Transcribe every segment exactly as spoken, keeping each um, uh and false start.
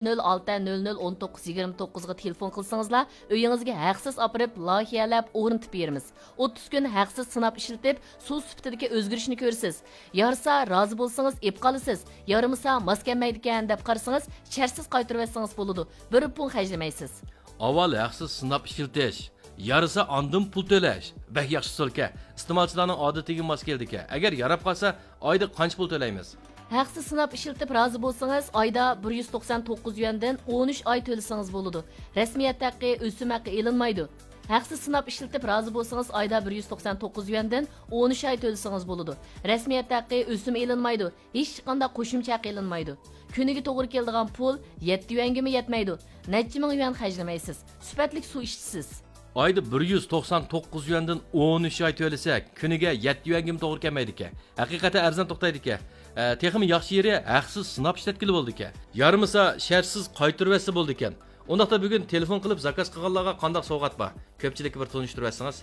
نۆل ئالتە نۆل نۆل ئون توققۇز يىگىرمە توققۇزغا تېلېفون قىلسىڭىزلا، ئۆيىڭىزگە ھەقسىز ئاپىرىپ، لايىھەلەپ، ئورنىتىپ بېرىمىز. ئوتتۇز كۈن ھەقسىز سىناپ ئىشلىتىپ، سۇ سۈپىتىدىكى ئۆزگىرىشنى كۆرىسىز. يارىسا، رازى بولسىڭىز، ئېپ قالىسىز. يارىمىسا، ماس كەلمەيدىكەن دەپ قارىسىڭىز، شەرتسىز قايتۇرۇۋەتسىڭىز بولىدۇ. بىر پۇڭ خەجلىمەيسىز. ئاۋۋال ھەقسىز سىناپ ئىشلىتىش. يارىسا ئاندىن پۇل تۆلەش. بەك ياخشى ئۇسۇلكەن. ئىستېمالچىلارنىڭ ئادىتىگە ماس كېلىدىكەن. ئەگەر ياراپ قالسا، ئايدا قانچە پۇل تۆلەيمىز؟ ھەقسىز سىناپ ئىشلىتىپ رازى بولسىڭىز، ئايدا بىر يۈز توقسان توققۇز يۈەندىن ئون ئۈچ ئاي تۆلىسىڭىز بولىدۇ. رەسمىيەت ھەققى، ئۆسۈم ھەققى ئېلىنمايدۇ. ھەقسىز سىناپ ئىشلىتىپ رازى بولسىڭىز، ئايدا بىر يۈز توقسان توققۇز يۈەندىن ئون ئۈچ ئاي تۆلىسىڭىز بولىدۇ. رەسمىيەت ھەققى، ئۆسۈم ئېلىنمايدۇ. ھېچقانداق قوشۇمچە ھەق ئېلىنمايدۇ. كۈنىگە توغرا كېلىدىغان پۇل يەتتە يۈەنگىمۇ يەتمەيدۇ. نەچچە مىڭ يۈەن خەجلىمەيسىز. سۈپەتلىك سۇ ئىچىسىز. ئايدا بىر يۈز توقسان توققۇز يۈەندىن ئون ئۈچ ئاي تۆلىسەك، كۈنىگە يەتتە يۈەنگىمۇ توغرا كەلمەيدىكەن. ھەقىقەتەن ئەرزان توختايدىكەن. ئە، تېخىمۇ ياخشى يېرى، ھەقسىز سىناپ ئىشلەتكىلى بولىدىكەن. يارىمىسا، شەرتسىز قايتۇرۇۋەتسە بولىدىكەن. ئۇنداقتا بۈگۈن تېلېفون قىلىپ زاكاز قىلغانلارغا قانداق سوۋغات بار؟ كۆپچىلىككە بىر تونۇشتۇرۇۋەتسىڭىز.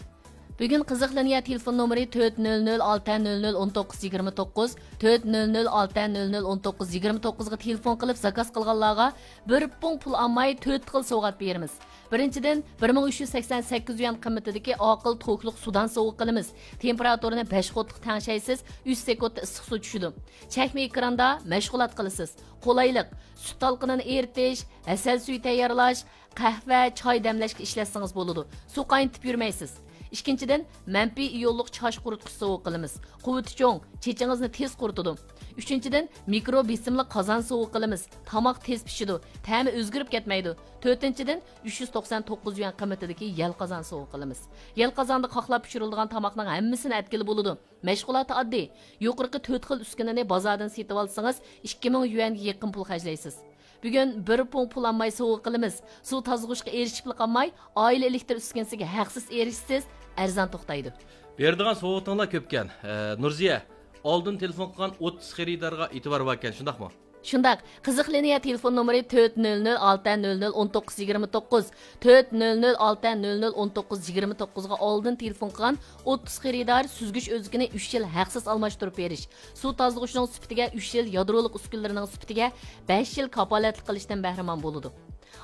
بۈگۈن قىزىق لىنىيە تېلېفون نومۇرى تۆت نۆل نۆل ئالتە نۆل نۆل ئون توققۇز يىگىرمە توققۇز، تۆت نۆل نۆل ئالتە نۆل نۆل ئون توققۇز يىگىرمە توققۇزغا تېلېفون قىلىپ زاكاز قىلغانلارغا بىر پۇڭ پۇل ئالماي تۆت خىل سوۋغات بېرىمىز. بىرىنچىدىن، بىر مىڭ ئۈچ يۈز سەكسەن سەككىز يۈەن قىممىتىدىكى ئاقىل توكلۇق سۇدان سوۋغا قىلىمىز. تېمپېراتۇرىنى بەش ۋولتلۇق تەڭشەيسىز، ئۈچ سېكۇنتتا ئىسسىق سۇ چۈشىدۇ. چەكمە ئېكراندا مەشغۇلات قىلىسىز. قولايلىق، سۈت تالقىنىنى ئېرىتىش، ھەسەل سۈيى تەييارلاش، قەھۋە، چاي دەملەشكە ئىشلەتسىڭىز بولىدۇ. سۇ قاينىتىپ يۈرمەيسىز. ئىككىنچىدىن، مەنپىي ئىيونلۇق چاچ قۇرۇتقۇچ سوۋغا قىلىمىز. قۇۋۋىتى چوڭ، چېچىڭىزنى تېز قۇرۇتىدۇ. ئۈچىنچىدىن، مىكرو بېسىملىق قازان سوۋغا قىلىمىز. تاماق تېز پىشىدۇ، تەمى ئۆزگىرىپ كەتمەيدۇ. تۆتىنچىدىن، ئۈچ يۈز توقسان توققۇز يۈەن قىممىتىدىكى يەل قازان سوۋغا قىلىمىز. يەل قازاندا قاقلاپ پىشۇرۇلىدىغان تاماقنىڭ ھەممىسىنى ئەتكىلى بولىدۇ. مەشغۇلاتى ئاددىي. يۇقىرىقى تۆت خىل ئۈسكۈنىنى بازاردىن سېتىۋالسىڭىز، ئىككى مىڭ يۈەنگە يېقىن پۇل خەجلەيسىز. بۈگۈن بىر پۇڭ پۇل ئالماي سوۋغا قىلىمىز. سۇ تازىلىغۇچقا ئېرىشىپلا قالماي، ئائىلە ئېلېكتىر ئۈسكۈنىسىگە ھەقسىز ئېرىشىسىز، ئەرزان توختايدۇ. بېرىدىغان سوۋغىتىڭلار كۆپكەن. ئە، نۇرزىيە، ئالدىن تېلېفون قىلغان ئوتتۇز خېرىدارغا ئېتىبار باركەن، شۇنداقمۇ؟ شۇنداق، قىزىق لىنىيە تېلېفون نومۇرى تۆت نۆل نۆل ئالتە نۆل نۆل ئون توققۇز يىگىرمە توققۇز، تۆت نۆل نۆل ئالتە نۆل نۆل ئون توققۇز يىگىرمە توققۇزغا ئالدىن تېلېفون قىلغان ئوتتۇز خېرىدار سۈزگۈچ ئۆزىكىنى ئۈچ يىل ھەقسىز ئالماشتۇرۇپ بېرىش، سۇ تازىلىغۇچنىڭ سۈپىتىگە ئۈچ يىل، يادرولۇق ئۈسكۈنىلىرىنىڭ سۈپىتىگە بەش يىل كاپالەتلىك قىلىشتىن بەھرىمەن بولىدۇ.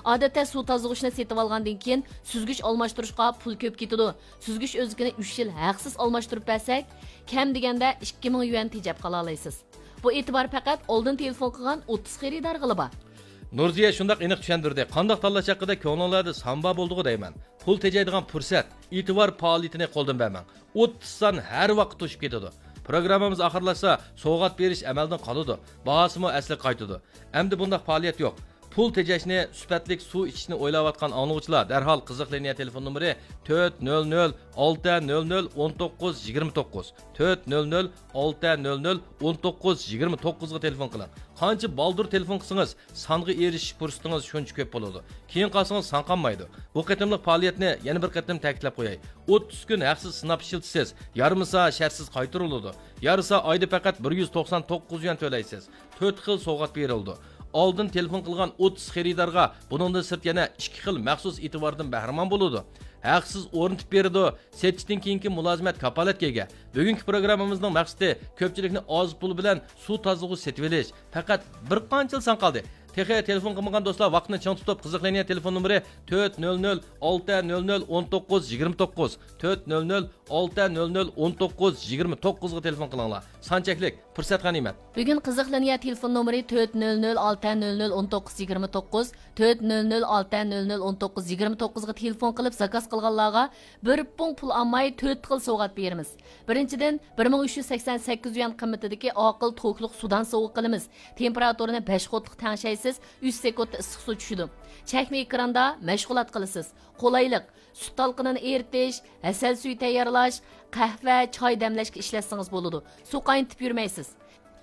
ئادەتتە سۇ تازىلىغۇچنى سېتىۋالغاندىن كېيىن سۈزگۈچ ئالماشتۇرۇشقا پۇل كۆپ كېتىدۇ. سۈزگۈچ ئۆزىكىنى ئۈچ يىل ھەقسىز ئالماشتۇرۇپ بەرسەك، كەم دېگەندە ئىككى مىڭ يۈەن تېجەپ قالالايسىز. بۇ ئېتىبار پەقەت ئالدىن تېلېفون قىلغان ئوتتۇز خېرىدارغىلا بار. نۇرزىيە شۇنداق ئېنىق چۈشەندۈردى، قانداق تاللاش ھەققىدە كۆڭلۈڭلەردە سامبا بولدىغۇ دەيمەن. پۇل تېجەيدىغان پۇرسەت، ئېتىبار پائالىيىتىنى قولدىن بەرمەڭ. ئوتتۇز سان ھەر ۋاقىت توشۇپ كېتىدۇ. پروگراممىمىز ئاخىرلاشسا، سوۋغات بېرىش ئەمەلدىن قالىدۇ، باھاسىمۇ ئەسلىگە قايتىدۇ. ئەمدى بۇنداق پائالىيەت يوق. پۇل تېجەشنى، سۈپەتلىك سۇ ئىچىشنى ئويلاۋاتقان ئاڭلىغۇچىلار دەرھال قىزىق لىنىيە تېلېفون نومۇرى تۆت نۆل نۆل ئالتە نۆل نۆل ئون توققۇز يىگىرمە توققۇز، تۆت نۆل نۆل ئالتە نۆل نۆل ئون توققۇز يىگىرمە توققۇزغا تېلېفون قىلىڭ. قانچە بالدۇر تېلېفون قىلسىڭىز، سانغا ئېرىشىش پۇرسىتىڭىز شۇنچە كۆپ بولىدۇ. كېيىن قالسىڭىز سان قالمايدۇ. بۇ قېتىملىق پائالىيەتنى يەنە بىر قېتىم تەكىتلەپ قوياي. ئوتتۇز كۈن ھەقسىز سىناپ ئىشلىتىسىز. يارىمىسا شەرتسىز قايتۇرۇلىدۇ. يارىسا ئايدا پەقەت بىر يۈز توقسان توققۇز يۈەن تۆلەيسىز. تۆت خىل سوۋغات بېرىلىدۇ. ئالدىن تېلېفون قىلغان ئوتتۇز خېرىدارغا بۇنىڭدىن سىرت يەنە ئىككى خىل مەخسۇس ئېتىباردىن بەھرىمەن بولىدۇ. ھەقسىز ئورنىتىپ بېرىدۇ. سېتىشتىن كېيىنكى مۇلازىمەت كاپالەتكە ئىگە. بۈگۈنكى پروگراممىمىزنىڭ مەقسىتى كۆپچىلىكنى ئاز پۇل بىلەن سۇ تازىلىغۇچ سېتىۋېلىش. پەقەت بىر قانچىلا سان قالدى. تېخى تېلېفون قىلمىغان دوستلار ۋاقىتنى چىڭ تۇتۇپ، قىزىق لىنىيە تېلېفون نومۇرى تۆت نۆل نۆل ئالتە نۆل نۆل ئون توققۇز يىگىرمە توققۇز، تۆت نۆل نۆل ئالتە نۆل نۆل ئون توققۇز يىگىرمە توققۇزغا تېلېفون قىلىڭلار. سان چەكلىك، پۇرسەت غەنىيمەت. بۈگۈن قىزىق لىنىيە تېلېفون نومۇرى تۆت نۆل نۆل ئالتە نۆل نۆل ئون توققۇز يىگىرمە توققۇز، تۆت نۆل نۆل ئالتە نۆل نۆل ئون توققۇز يىگىرمە توققۇزغا تېلېفون قىلىپ زاكاز قىلغانلارغا بىر پۇڭ پۇل ئالماي تۆت خىل سوۋغات بېرىمىز. بىرىنچىدىن، بىر مىڭ ئۈچ يۈز سەكسەن سەككىز يۈەن قىممىتىدىكى ئاقىل توكلۇق سۇدان سوۋغا قىلىمىز. تېمپېراتۇرىنى بەش ۋولتلۇق تەڭشەيسىز، ئۈچ سېكۇنتتا ئىسسىق سۇ چۈشىدۇ. چەكمە ئېكراندا مەشغۇلات قىلىسىز. قولايلىق، سۈت تالقىنىنى ئېرىتىش، ھەسەل سۈيى تەييارلاش، قەھۋە، چاي دەملەشكە ئىشلەتسىڭىز بولىدۇ. سۇ قاينىتىپ يۈرمەيسىز.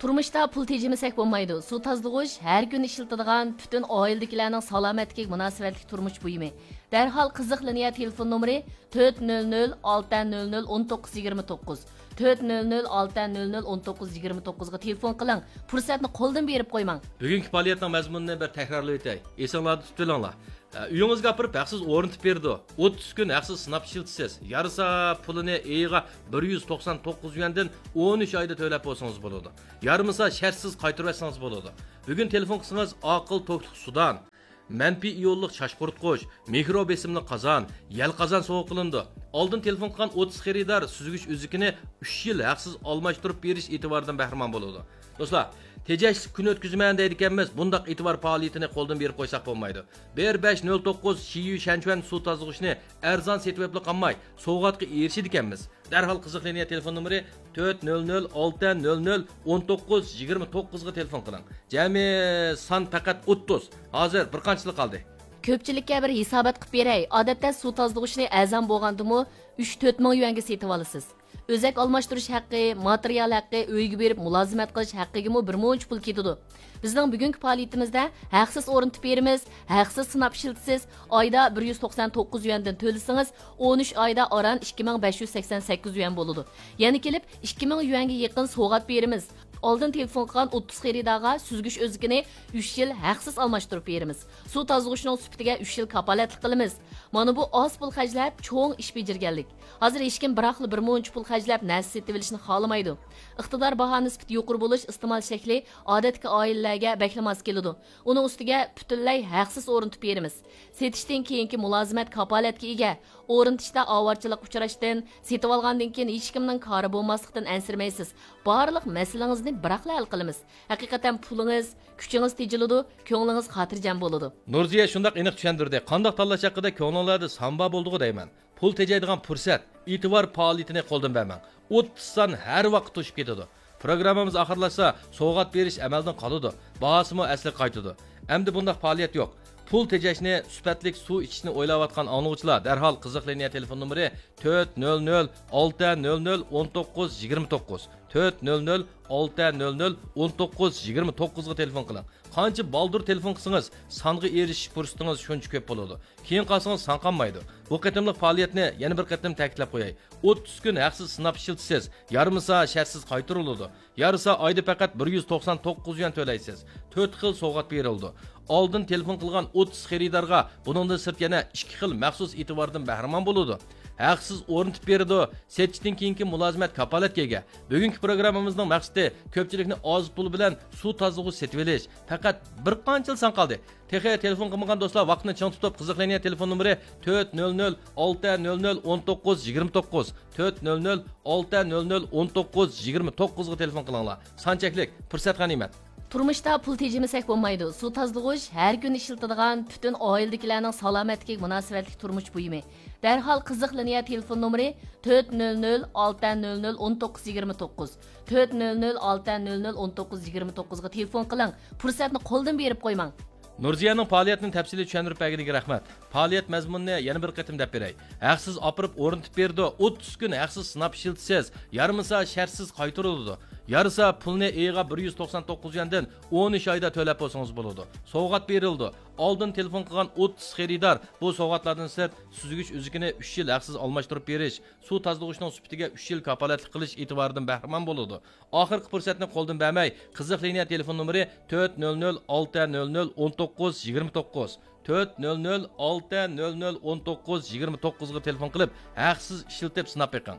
تۇرمۇشتا پۇل تېجىمىسەك بولمايدۇ. سۇ تازىلىغۇچ ھەر كۈنى ئىشلىتىدىغان، پۈتۈن ئائىلىدىكىلەرنىڭ سالامەتلىكىگە مۇناسىۋەتلىك تۇرمۇش بۇيۇمى. دەرھال قىزىق لىنىيە تېلېفون نومۇرى تۆت نۆل نۆل ئالتە نۆل نۆل ئون توققۇز يىگىرمە توققۇز، تۆت نۆل نۆل ئالتە نۆل نۆل ئون توققۇز يىگىرمە توققۇزغا تېلېفون قىلىڭ، پۇرسەتنى قولدىن بېرىپ قويماڭ. بۈگۈنكى پائالىيەتنىڭ مەزمۇنىنى بىر تەكرارلىۋېتەي، ئېسىڭلاردا تۇتۇۋېلىڭلار. ئە، ئۆيىڭىزگە ئاپىرىپ ھەقسىز ئورنىتىپ بېرىدۇ. ئوتتۇز كۈن ھەقسىز سىناپ ئىشلىتىسىز. يارىسا پۇلىنى ئېيىغا بىر يۈز توقسان توققۇز يۈەندىن ئون ئۈچ ئايدا تۆلەپ بولسىڭىز بولىدۇ. يارىمىسا شەرتسىز قايتۇرۇۋەتسىڭىز بولىدۇ. بۈگۈن تېلېفون قىلسىڭىز ئاقىل توكلۇق سۇدان، مەنپىي ئىيونلۇق چاچ قۇرۇتقۇچ، مىكرو بېسىملىق قازان، يەل قازان سوۋغا قىلىنىدۇ. ئالدىن تېلېفون قىلغان ئوتتۇز خېرىدار سۈزگۈچ ئۈزۈكىنى ئۈچ يىل ھەقسىز ئالماشتۇرۇپ بېرىش ئېتىبارىدىن بەھرىمەن بولىدۇ. دوستلار، تېجەشلىك كۈن ئۆتكۈزىمەن دەيدىكەنمىز، بۇنداق ئېتىبار پائالىيىتىنى قولدىن بېرىپ قويساق بولمايدۇ. بىر بەش نۆل توققۇز شىيۈ شەنچۈەن سۇ تازىلىغۇچىنى ئەرزان سېتىۋېپلا قالماي، سوۋغاتقا ئېرىشىدىكەنمىز. دەرھال قىزىق لىنىيە تېلېفون نومۇرى تۆت نۆل نۆل ئالتە نۆل نۆل ئون توققۇز يىگىرمە توققۇزغا تېلېفون قىلىڭ. جەمئىي سان پەقەت ئوتتۇز. ھازىر بىر قانچىلا قالدى؟ كۆپچىلىككە بىر ھېسابات قىلىپ بېرەي. ئادەتتە سۇ تازىلىغۇچنى ئەرزان بولغاندىمۇ ئۈچ تۆت مىڭ يۈەنگە سېتىۋالىسىز. ئۆزەك ئالماشتۇرۇش ھەققى، ماتېرىيال ھەققى، ئۆيگە بېرىپ مۇلازىمەت قىلىش ھەققىگىمۇ بىر مۇنچە پۇل كېتىدۇ. بىزنىڭ بۈگۈنكى پائالىيىتىمىزدە ھەقسىز ئورنىتىپ بېرىمىز، ھەقسىز سىناپ ئىشلىتىسىز، ئايدا بىر يۈز توقسان توققۇز يۈەندىن تۆلىسىڭىز، ئون ئۈچ ئايدا ئاران ئىككى مىڭ بەش يۈز سەكسەن سەككىز يۈەن بولىدۇ. يەنە كېلىپ ئىككى مىڭ يۈەنگە يېقىن سوۋغات بېرىمىز. ئالدىن تېلېفون قىلغان ئوتتۇز خېرىدارغا سۈزگۈچ ئۆزىكىنى ئۈچ يىل ھەقسىز ئالماشتۇرۇپ بېرىمىز. سۇ تازىلىغۇچنىڭ سۈپىتىگە ئۈچ يىل كاپالەتلىك قىلىمىز. مانا بۇ ئاز پۇل خەجلەپ چوڭ ئىش بېجىرگەنلىك. ھازىر ھېچكىم بىراقلا بىر مۇنچە پۇل خەجلەپ نەرسە سېتىۋېلىشنى خالىمايدۇ. ئىقتىدار باھا نىسبىتى يۇقىرى بولۇش ئىستېمال شەكلى ئادەتتىكى ئائىلىلەرگە بەكلا ماس كېلىدۇ. ئۇنىڭ ئۈستىگە پۈتۈنلەي ھەقسىز ئورنىتىپ بېرىمىز. سېتىشتىن كېيىنكى مۇلازىمەت كاپالەتكە ئىگە. ئورنىتىشتا ئاۋارىچىلىققا ئۇچراشتىن، سېتىۋالغاندىن كېيىن ھېچكىمنىڭ كارى بولماسلىقتىن ئەنسىرىمەيسىز. بارلىق مەسىلىڭىزنى بىراقلا ھەل قىلىمىز. ھەقىقەتەن پۇلىڭىز، كۈچىڭىز تېجىلىدۇ، كۆڭلىڭىز خاتىرجەم بولىدۇ. نۇرزىيە شۇنداق ئېنىق چۈشەندۈردى، قانداق تاللاش ھەققىدە كۆڭلۈڭلاردا سان بار بولدىغۇ دەيمەن. پۇل تېجەيدىغان پۇرسەت، ئېتىبار پائالىيىتىنى قولدىن بەرمەڭ. ئوتتۇز سان ھەر ۋاقىت توشۇپ كېتىدۇ. پروگراممىمىز ئاخىرلاشسا، سوۋغات بېرىش ئەمەلدىن قالىدۇ، باھاسىمۇ ئەسلىگە قايتىدۇ. ئەمدى بۇنداق پائالىيەت يوق. پۇل تېجەشنى، سۈپەتلىك سۇ ئىچىشنى ئويلاۋاتقان ئاڭلىغۇچىلار دەرھال قىزىق لىنىيە تېلېفون نومۇرى تۆت نۆل نۆل ئالتە نۆل نۆل ئون توققۇز يىگىرمە توققۇز، تۆت نۆل نۆل ئالتە نۆل نۆل ئون توققۇز يىگىرمە توققۇزغا تېلېفون قىلىڭ. قانچە بالدۇر تېلېفون قىلسىڭىز، سانغا ئېرىشىش پۇرسىتىڭىز شۇنچە كۆپ بولىدۇ. كېيىن قالسىڭىز سان قالمايدۇ. بۇ قېتىملىق پائالىيەتنى يەنە بىر قېتىم تەكىتلەپ قوياي. ئوتتۇز كۈن ھەقسىز سىناپ ئىشلىتىسىز، يارىمىسا شەرتسىز قايتۇرۇلىدۇ. يارىسا ئايدا پەقەت بىر يۈز توقسان توققۇز يۈەن تۆلەيسىز. تۆت خىل سوۋغات بېرىلىدۇ. ئالدىن تېلېفون قىلغان ئوتتۇز خېرىدارغا بۇنىڭدىن سىرت يەنە ئىككى خىل مەخسۇس ئېتىباردىن بەھرىمەن بولىدۇ. ھەقسىز ئورنىتىپ بېرىدۇ. سېتىشتىن كېيىنكى مۇلازىمەت كاپالەتكە ئىگە. بۈگۈنكى پروگراممىمىزنىڭ مەقسىتى كۆپچىلىكنى ئاز پۇل بىلەن سۇ تازىلىغۇچ سېتىۋېلىش. پەقەت بىر قانچىلا سان قالدى. تېخى تېلېفون قىلمىغان دوستلار ۋاقىتنى چىڭ تۇتۇپ، قىزىق لىنىيە تېلېفون نومۇرى تۆت نۆل نۆل ئالتە نۆل نۆل ئون توققۇز يىگىرمە توققۇز، تۆت نۆل نۆل ئالتە نۆل نۆل ئون توققۇز يىگىرمە توققۇزغا تېلېفون قىلىڭلار. سان چەكلىك، پۇرسەت غەنىيمەت. تۇرمۇشتا پۇل تېجىمىسەك بولمايدۇ. سۇ تازىلىغۇچ ھەر كۈنى ئىشلىتىدىغان، پۈتۈن ئائىلىدىكىلەرنىڭ سالامەتلىكىگە مۇناسىۋەتلىك تۇرمۇش بۇيۇمى. دەرھال قىزىق لىنىيە تېلېفون نومۇرى تۆت نۆل نۆل ئالتە نۆل نۆل ئون توققۇز يىگىرمە توققۇز، تۆت نۆل نۆل ئالتە نۆل نۆل ئون توققۇز يىگىرمە توققۇزغا تېلېفون قىلىڭ. پۇرسەتنى قولدىن بېرىپ قويماڭ. نۇرزىيەنىڭ پائالىيەتنى تەپسىلىي چۈشەندۈرۈپ بەرگىنىگە رەھمەت. پائالىيەت مەزمۇنىنى يەنە بىر قېتىم دەپ بېرەي. ھەقسىز ئاپىرىپ ئورنىتىپ بېرىدۇ، ئوتتۇز كۈن ھەقسىز سىناپ ئىشلىتىسىز، يارىمىسا شەرتسىز قايتۇرۇلىدۇ. يارىسا پۇلنى ئېيىغا بىر يۈز توقسان توققۇز يۈەندىن ئون ئۈچ ئايدا تۆلەپ بولسىڭىز بولىدۇ. سوۋغات بېرىلىدۇ. ئالدىن تېلېفون قىلغان ئوتتۇز خېرىدار بۇ سوۋغاتلاردىن سىرت سۈزگۈچ ئۈزۈكىنى ئۈچ يىل ھەقسىز ئالماشتۇرۇپ بېرىش، سۇ تازىلىغۇچنىڭ سۈپىتىگە ئۈچ يىل كاپالەتلىك قىلىش ئېتىبارىدىن بەھرىمەن بولىدۇ. ئاخىرقى پۇرسەتنى قولدىن بەرمەي، قىزىق لىنىيە تېلېفون نومۇرى تۆت نۆل نۆل ئالتە نۆل نۆل ئون توققۇز يىگىرمە توققۇز، تۆت نۆل نۆل ئالتە نۆل نۆل ئون توققۇز يىگىرمە توققۇزغا تېلېفون قىلىپ، ھەقسىز ئىشلىتىپ سىناپ بېقىڭ.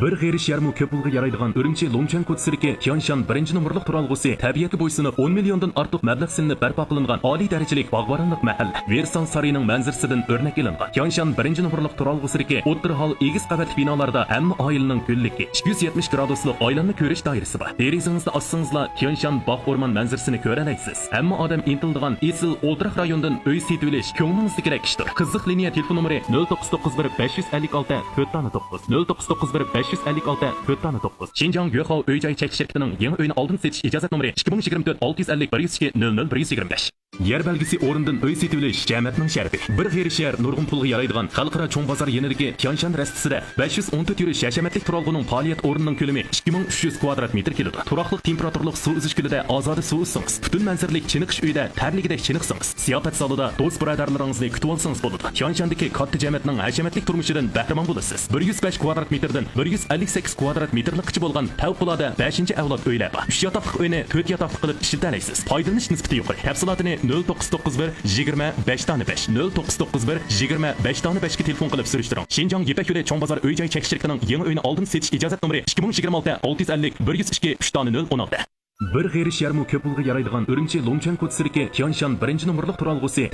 بىر غېرىش يەرمۇ كۆپ پۇلغا يارايدىغان ئۈرۈمچى لۇڭچۈەنكوچى سىركى تيانشان بىرىنچى نومۇرلۇق تۇرالغۇسى تەبىئەتكە بويسۇنۇپ، ئون مىليوندىن ئارتۇق مەبلەغ سېلىنىپ بەرپا قىلىنغان ئالىي دەرىجىلىك باغۋەنلىق مەھەللە. ۋېرسال سارىيىنىڭ مەنزىرىسىدىن ئۆرنەك ئېلىنغان. تيانشان بىرىنچى نومۇرلۇق تۇرالغۇ سىركى ئوتتۇرا ھال ئېگىز قەۋەتلىك بىنالاردا ھەممە ئائىلىنىڭ گۈللۈكى. ئىككى يۈز يەتمىش گرادۇسلۇق ئايلانما كۆرۈش دائىرىسى بار. دېرىزىڭىزنى ئاچسىڭىزلا، تيانشان باغ ئورمان مەنزىرىسىنى كۆرەلەيسىز. ھەممە ئادەم ئىنتىلىدىغان ئېسىل ئولتۇراق رايونىدىن ئۆي سېتىۋېلىش كۆڭلىڭىزدىكىدەك ئىشتۇر. قىزىق لىنىيە تېلېفون نومۇرى نۆل توققۇز توققۇز بىر بەش يۈز ئەللىك ئالتە تۆت دانە توققۇز، نۆل توققۇز توققۇز بىر بەش يۈز ئەللىك ئالتە تۆت دانە توققۇز. شىنجاڭ يۆخاۋ ئۆي جاي چەكلىك شىركىتىنىڭ يېڭى ئۆينى ئالدىن سېتىش ئىجازەت نومۇرى ئىككى مىڭ يىگىرمە تۆت ئالتە يۈز ئەللىك بىر يۈز ئىككى نۆل نۆل بىر يۈز يىگىرمە بەش. يەر بەلگىسى ئورنىدىن ئۆي سېتىۋېلىش جەمەتنىڭ شەرىپى. بىر غېرىب شەھەر نۇرغۇن پۇلغا يارايدىغان خەلقئارا چوڭ بازار يېنىدىكى تيانشان رەستىسىدە بەش يۈز ئون تۆت يۈرۈش ھەشەمەتلىك تۇرالغۇنىڭ پائالىيەت ئورنىنىڭ كۆلىمى ئىككى مىڭ ئۈچ يۈز كۋادرات مېتىر كېلىدۇ. تۇراقلىق تېمپېراتۇرىلىق سۇ ئۈزۈش كۆلىدە ئازادە سۇ ئۈزسىڭىز، پۈتۈن مەنزىرىلىك چېنىقىش ئۆيىدە تەرلىگۈدەك چېنىقسىڭىز، زىياپەت زالىدا دوست بۇرادەرلىرىڭىزنى كۈتۈۋالسىڭىز بولىدۇ. تيانشاندىكى كاتتا جەمەتنىڭ ھەشەمەتلىك تۇرمۇشىدىن بەھرىمەن بولىسىز. بىر يۈز بەش كۋادرات مېتىردىن بىر يۈز ئەللىك سەككىز كۋادرات مېتىرلىققىچە بولغان پەۋقۇلئاددە بەشىنچى ئەۋلاد ئۆيلەر بار. ئۈچ ياتاقلىق ئۆينى تۆت ياتاقلىق قىلىپ ئىشلىتەلەيسىز. پايدىلىنىش نىسبىتى يۇقىرى. تەپسىلاتىنى نۆل توققۇز توققۇز بىر يىگىرمە بەش دانە بەش، نۆل توققۇز توققۇز بىر يىگىرمە بەش دانە بەشكە تېلېفون قىلىپ سۈرۈشتۈرۈڭ. شىنجاڭ يىپەك يولى چوڭ بازار ئۆي جاي چەكلىك شىركىتىنىڭ يېڭى ئۆينى ئالدىن سېتىش ئىجازەت نومۇرى ئىككى مىڭ يىگىرمە ئالتە ئالتە يۈز ئەللىك بىر يۈز ئىككى ئۈچ دانە نۆل ئون ئالتە. بىر غېرىب شەھەرمۇ كۆپ پۇلغا يارايدىغان ئۈرۈمچى لۇڭچۈەن كوچىسىدىكى تيانشان بىرىنچى نومۇرلۇق تۇرالغۇسى